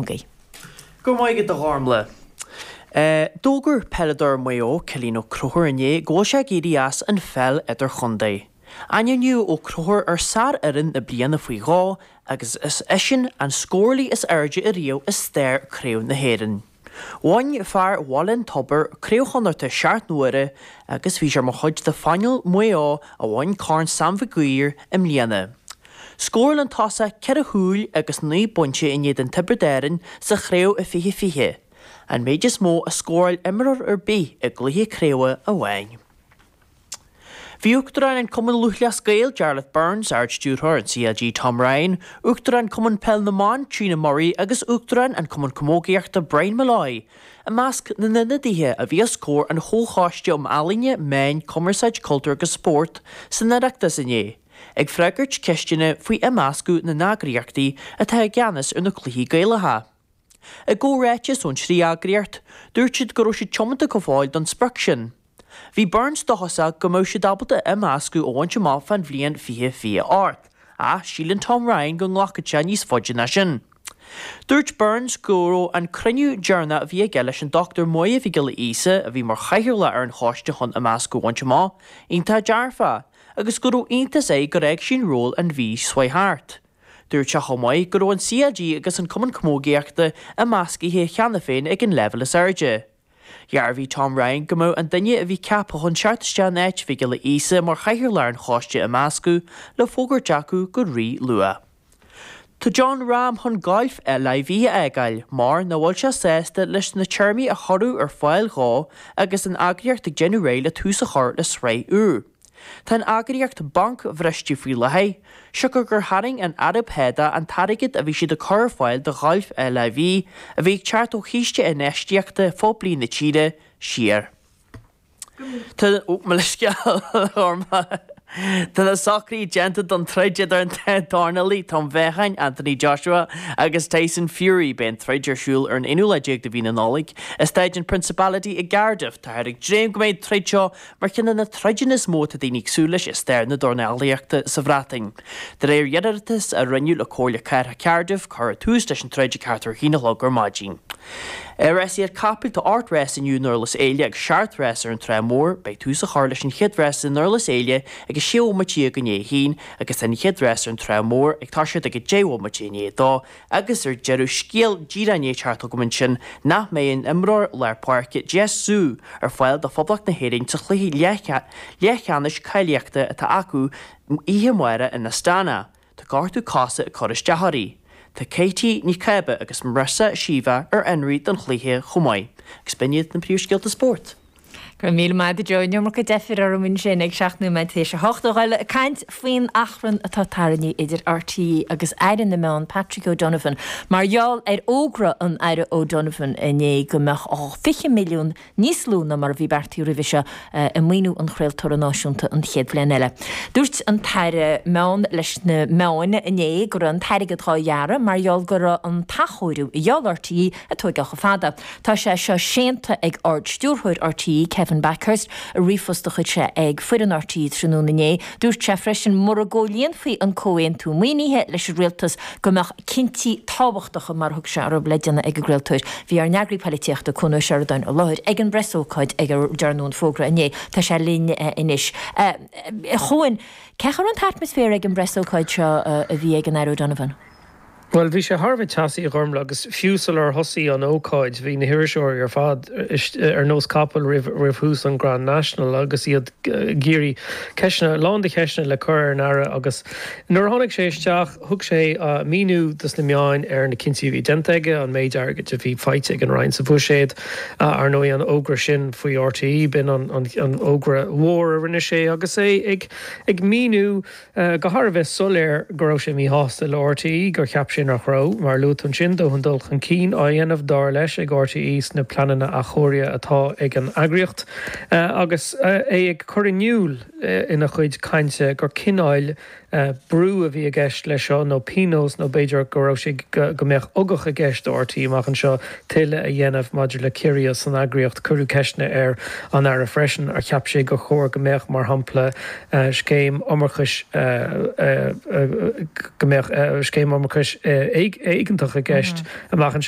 Mac Aoidh. Go raibh maith agat a Ghormlaith. D'fhógair peileadóir Mhaigh Eo, Cillian Ó Conchúir inné go bhfuil sé ag éirí as an pheil idirchontae. Ainmníodh Ó Conchúir ar sárfhoireann na bliana faoi dhó agus is eisean an scórálaí is airde ariamh i stair Craobh na hÉireann. Bhain fear Bhaile an Tobair Craobh Chonnachta seacht n-uaire agus bhí sé mar chuid de phainéal Mhaigh Eo a bhain Corn Sam Mhig Uidhir i mbliana. Scóráil an tosach ceithre chúil agus 9 bpointe in éadan Tiobraid Árann sa chraobh i 2020, an méid is mó a scóráil imreoir ar bith i gcluiche craoibhe amháin. Bhí Uachtarán an Chumann Lúthchleas Gael, Jarlath Burns, Ard-Stiúrthóir an CLG Tom Ryan, Uachtarán Cumann Peil na mBan, Tríona Murray agus Uachtarán an Chumann Camógaíochta Brian Molloy i measc na n-ionadaithe a bhí os comhair an Chomhchoiste um Ealaíona, Meáin, Cumarsáid, Cultúr agus Spórt san Oireachtas inné, ag freagairt ceisteanna faoi imeascadh na n-eagraíochtaí atá i gceannas ar na cluichí Gaelacha. I gcomhráiteas ón trí eagraíocht, dúirt siad go raibh siad tiomanta go fóill don sprioc sin. Bhí Burns dóchasach go mbeadh siad ábalta imeascadh a bhaint amach fán bhliain 2028, ach síleann Tom Ryan go nglacfaidh sé níos faide ná sin. Dúirt Burns go raibh an cruinniú deireanach a bhí aige leis an Dr Máire Mhic Giolla Íosa, a bhí mar chathaoirleach ar an choiste chun imeascadh a bhaint amach, iontach dearfach, agus go raibh iontas air gur fhág sí an ról an mhí seo thart. Dúirt sé chomh maith go raibh an CLG agus an Cumann Camógaíochta imeascaithe cheana féin ag an leibhéal is airde. Dhearbhaigh Tom Ryan go mbeadh an duine a bhí ceaptha chun teacht isteach in áit Mhic Giolla Íosa mar chathaoirleach ar an choiste imeascadh le fógairt acu go rí-luath. Tá Jon Rahm chun gailf LIV a fhágáil mar nach bhfuil sé sásta leis na téarmaí a cuireadh ar fáil dhó agus an eagraíocht ag déanamh réidh le tús a chur le sraith úr. Tá an eagraíocht bancbhriste faoi láthair, siocair gur tharraing an Araib Shádach an t-airgead a bhí siad ag cur ar fáil do ghailf LIV, a bhí ag teacht ó chíste infheistíochta phoiblí na tíre, siar. Tá, ó, mo leithscéal, a Ghormlaith. Tá na socruithe déanta don troid idir an dá dhornálaí toimheáchain, Anthony Joshua agus Tyson Fury. Beidh an troid ar siúl ar an aonú lá déag de mhí na Nollag i Staid an Principality i gCardiff. Táthar ag dréim go mbeidh an troid seo mar cheann de na troideanna is mó atá daoine ag súil leis i stair na dornálaíochta sa Bhreatain. De réir iarratas a rinneadh le Comhairle Cathrach Cardiff, cuirfear tús leis an troid ag ceathrú a haon a chlog ar maidin. Ar rásaíocht capaill, tá 8 rás inniu i nDurlas Éile agus 7 rás ar an Trá Mhór. Beidh tús á chur leis an chéad rás i nDurlas Éile ag 6 bhomaite i ndiaidh a haon agus tá an chéad rás ar an Trá Mhór ag toiseacht ag 10 bhomaite i ndiaidh a dó. Agus ar deireadh, scéal díreach i ndiaidh teacht chugam ansin nach mbeidh an imreoir lár páirce Jess Ziu ar fáil do Phoblacht na hÉireann sa chluiche leathcheannais cáilíochta atá acu oíche amárach in Astana. Tá gortú cosa ag cur isteach uirthi. Tá Katie Ní Cába agus Marissa Sheva ar fionraí don chluiche chomh maith. Agus b'in iad na príomhscéalta spóirt. Go raibh míle maith agat a Joe, an iomarca deifir orm ansin ag 7 nóiméad tar éis a 8 a dhul ag caint faoin achrann atá tarraingthe idir RTÉ agus Aire na Meán Patrick O'Donovan mar gheall ar fhógra an Aire O'Donovan inné go mbeadh 20 milliún níos lú ná mar a bhí beartaithe roimhe seo i maoiniú an chraoltóra náisiúnta an chéad bhliain eile. Dúirt an tAire Meán leis na meáin inné go raibh an t-airgead dhá ghearradh mar gheall go raibh an t-athchóiriú a gheall RTÉ ag tóigeáil chomh fada. Tá sé seo séanta ag Ard-Stiúrthóir RTÉ, Kevin Bakhurst, i ríomhphost a chuir sé ag foireann RTÉ tráthnóna inné. Dúirt sé freisin mura gcomhlíonfaí an comhaontú maoinithe leis an rialtas go mbeadh cinntí tábhachtacha, mar a thug sé orthu, le déanamh ag an gcraoltóir. Bhí ár n-eagraí poilitíochta, Cuan Ó Seireadáin, i láthair ag an bpreasócáid ag a ndearnadh an fógra inné. Tá sé linn anois. A Chuain, cén chaoi a raibh an t-atmaisféar ag an bpreasócáid seo a bhí ag an Aire O'Donovan? Bhuel, bhí sé thar a bheith teasaí, a Ghormlaith, agus fiú sular thosaigh an ócáid, bhí na hiriseoirí ar fad ar nós capaill roimh thús an Grand National agus iad ag iarraidh ceisteanna, a lán de cheisteanna le cur ar an Aire agus nuair a tháinig sé isteach, thug sé míniú dos na meáin ar na cinntí a bhí déanta aige, an méid airgid a bhí faighte ag an Roinn sa bhuiséad, ar ndóigh an fhógra sin faoi RTÉ, b'in an fhógra mhór a rinne sé agus é ag míniú go thar a bheith soiléir go raibh sé míshásta le RTÉ, gur cheap sé nach raibh, mar a luaigh tú ansin, dóthain dul chun cinn á dhéanamh, dar leis, ag RTÉ sna pleananna athchóirithe atá ag an eagraíocht, agus é ag cur in iúl ina chuid cainte gur cineál brú a bhí i gceist leis seo, nó pionós, nó b'fhéidir go raibh sé, go mbeadh ugach i gceist do RTÉ amach anseo tuilleadh a dhéanamh maidir le ciorruithe san eagraíocht. Cuireadh ceisteanna ar an Aire freisin ar cheap sé gur chóir go mbeadh, mar shampla, scéim iomarcais, go mbeadh scéim iomarcais éigeantach i gceist amach anseo.